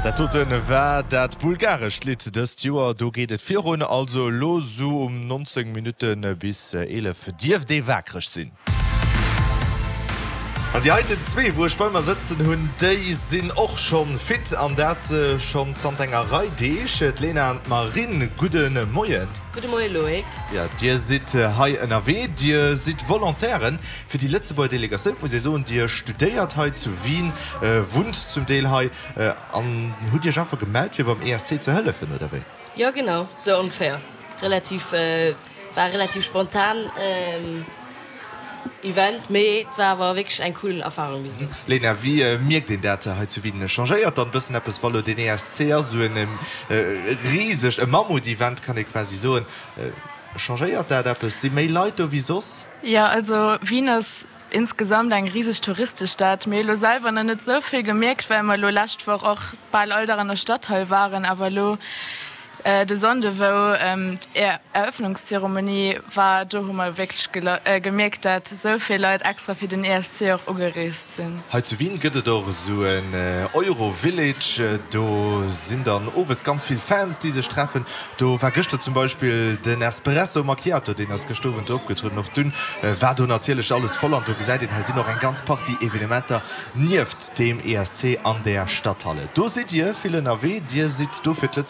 Dat doten war dat bulgarescht Lidd dëst Joer. Do geet et virun. Also elo sou um 19 Minutte bis 11 dierft ee waakreg sinn. An déi heiten zwee, wou ech bei mer sëtzen hunn, déi sinn och schonn fit an dat schonn zanter enger Rei Deeg. D'Lena an d'Marine, gudde Moien. Gudde Moie Loïc. Jo, dir sidd hei ënnerwee, dir sidd Volontairen fir déi Lëtzebuerger Delegatioun. Et muss ee soen, dir studéiert hei zu Wien, wunnt zum Deel hei an hutt iech einfach gemellt, fir beim ESC ze hëllefen, oder wéi? Jo, genau, sou ongeféier. Relativ, war relativ spontan. Event, mee et war awer wierklech eng cool Erfahrung bis elo. Lena, wéi mierkt een dat hei zu Wien? Changéiert dann bëssen eppes, wa lo deen ESC ass, esou en risegt, e Mammut-Event kann ee quasi soen. Changéiert dat eppes? Si méi Leit do wéi soss? Jo, also Wien ass insgesamt eng riseg Touristestad. Mir hu lo selwer nach net esou vill gemierkt, well mer elo lescht Woch och bal all Dag an der Stadhall waren, awer elo De Sonnde wou d'Eröffnungszeremonie war, do hu mer wierklech gemierkt dat esou vill Leit extra fir den ESC och ugereest sinn. Hei zu Wien gëtt et och esou en Euro-Village, do sinn dann owes ganz vill Fans déi sech treffen. Do war gëschter zum Beispill den Espresso Macchiato, deen ass gëschter Owend do opgetrueden. Och dunn war do natierlech alles voll an do gesäit een, hei sinn och eng ganz Partie Evenementer nieft deem ESC an der Stadthalle. Do sidd Dir vill ënnerwee, Dir sidd do fir d'Lëtzebuerger.